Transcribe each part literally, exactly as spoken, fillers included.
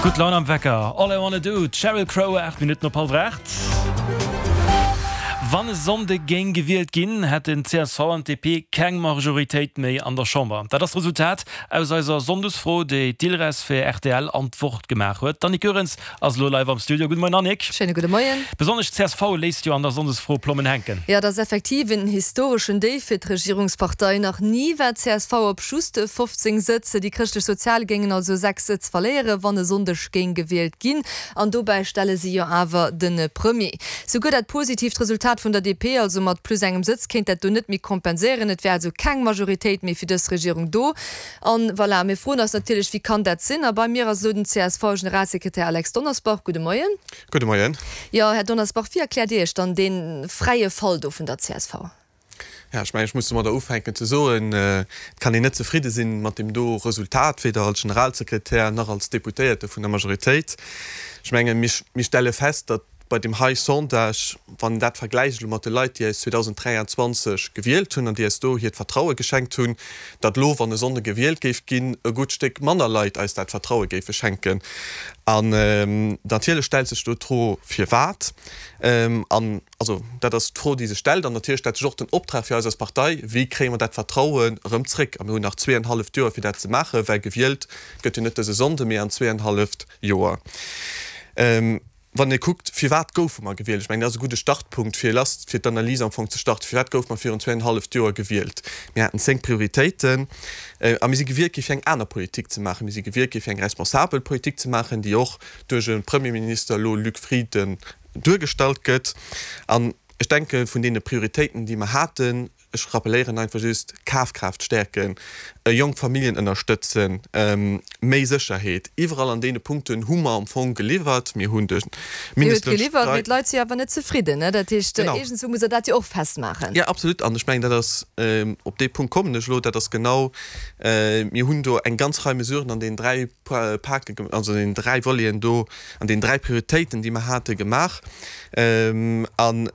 Gutt Laun am Wecker. All I Wanna Do, Sheryl Crow, aacht Minutten op hallwer aacht. Wann e Sonnde géing gewielt ginn, hätten C S V an D P keng Majoritéit méi an der Chamber. Dat ass d'Resultat aus eiser Sonndesfro, déi d'Ilres fir R T L an d'Wort gemaach huet. D'Annick Goerens ass elo live am Studio. Gudde Moien, Annick. Schéine gudde Moien. Besonnesch d'C S V léisst jo an der Sonndesfro Plommen hänken. Ja, dat ass effektiv en historeschen Déif fir d'Regierungspartei. Nach ni war d'C S V op just fofzéng Sëtz. Déi Chrëschtlech-Sozial géingen also sechs Sëtz verléieren, wann e Sonndeg géing gewielt ginn. An dobäi stelle si jo awer de Premier. Souguer dat positiivt Resultat vun der D P, also mat plus engem Sëtz, kéint dat do net méi kompenséieren. Et wär also keng Majoritéit méi fir dës Regierung do. An voilà, mir froen eis natierlech, wéi kann dat sinn? A bei mir ass elo den C S V-Generalsekretär Alex Donnersbach. Gudde Moien. Gudde Moien. Jo, Här Donnersbach, wéi erkläert Dir Iech dann dee fräie Fall do vun der C S V? Ja, ech mengen, ech muss domadder ufänken ze soen, et kann een net zefridde sinn mat deem do Resultat, weder als Generalsekretär nach als Deputéierte vun der Majoritéit. Ech mengen, mir, mir stelle fest, datt bei deem hei Sondage, wann een dat vergläicht elo mat de Leit, déi eis zweedausend dräianzwanzeg gewielt hunn an déi eis do hiert Vertraue geschenkt hunn, datt elo, wann e Sonnde gewielt géif ginn, e gutt Stéck manner Leit eis dat Vertraue géife schenken. An natierlech stellt sech do d'Fro, firwat. An also dat ass d'Fro, déi sech stellt. An natierlech stellt sech och den Optrag fir eis als Partei, wéi kréie mer dat Vertrauen erëm zréck? A mir hunn nach zweeanenhalleft Joer, fir dat ze maachen, well gewielt gëtt jo net dëse Sonnde, mee an zweeanenhalleft Joer. Wann ee kuckt, firwat goufe mer gewielt, ech mengen, dat ass e gudde Startpunkt, fir lass, fir d'Analys am Fong ze starten, firwat goufe mer virun zweeanenhalleft Joer gewielt? Mir haten zéng Prioritéiten a mir si gewielt gi fir eng aner Politik ze maachen. Mir si gewielt gi fir eng responsabel Politik ze maachen, déi och duerch e Premierminister elo, Luc Frieden, duergestallt gëtt. An ech denke vun deene Prioritéiten, déi mer haten, ech rappeléieren einfach just, Kafkraaft stäerken, jonk Familljen ënnerstëtzen, méi Sécherheet, iwwerall an deene Punkten hu mer am Fong geliwwert. Mir hunn de Dir hutt Mindestloun geliwwert, mee d'Leit si awer net zefridden. Dat heescht, Genau. iergendwou musst Der dat jo och festmaachen. Jo, absolut. An ech mengen, dat ass, op dee Punkt kommen ech elo, dat ass genau, mir hunn do eng ganz Rei Mesuren an deenen dräi Pake, also an deenen dräi Voleten do, an deenen dräi Prioritéiten, déi mer hate gemaach. An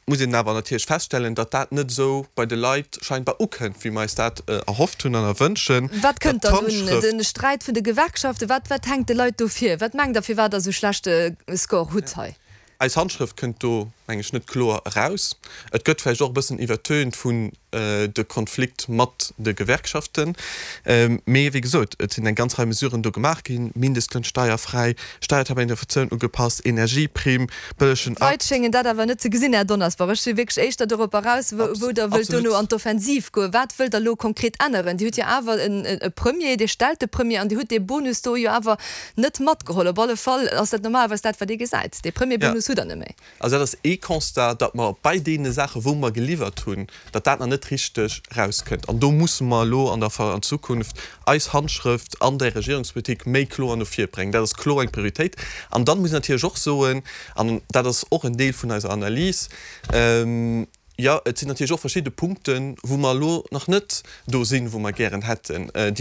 muss een awer natierlech feststellen, datt dat net esou bei de Leit scheinbar ukënnt, wéi mer eis dat erhofft hunn an erwënschen. Wat Datt kënnt dann un? d'Handschrëft. De Sträit vun de Gewerkschaften, wat, wat hänkt de Leit do vir? Wat mengt Der, firwat Der esou schlechte Score hutt hei? Eis Handschrëft kënnt do, meng ech, net kloer eraus. Et gëtt vläicht och e bëssen iwwertönt vun de Konflikt mat de Gewerkschaften. Mee wéi gesot, et sinn eng ganz Rei Mesuren do gemaach ginn, Mindestloun steierfräi, Steiertabellenflatioun ugepasst, Energieprimm, bëllegen D'Leit Akt. schéngen dat awer net ze gesinn, Här Donnersbach. Ech si wierklech éischter dorop eraus, wou, wou Der wëllt dono Absolut. an d'Offensiv goen. Wat wëllt Der elo konkret änneren? Dir hutt jo awer en, e Premier, Dir stellt de Premier an Dir hutt dee Bonus do jo awer net matgeholl. Op alle Fall ass dat normalerweis dat, wat ee gesäit. Dee Ja. Premierbonus hutt Der net méi. Also dat ass ee Constat, datt mer bei deene Saachen, wou mer geliwwert hunn, datt dat nach net richteg erauskënnt. An do musse mer elo an der an Zukunft eis Handschrëft an der Regierungspolitik méi kloer no vir bréngen. Dat ass kloer eng Prioritéit. An dann muss een natierlech och soen, an dat ass och en Deel vun eiser Analys, jo, et sinn natierlech och verschidde Punkten, wou mer elo nach net do sinn, wou mer gären hätten, déi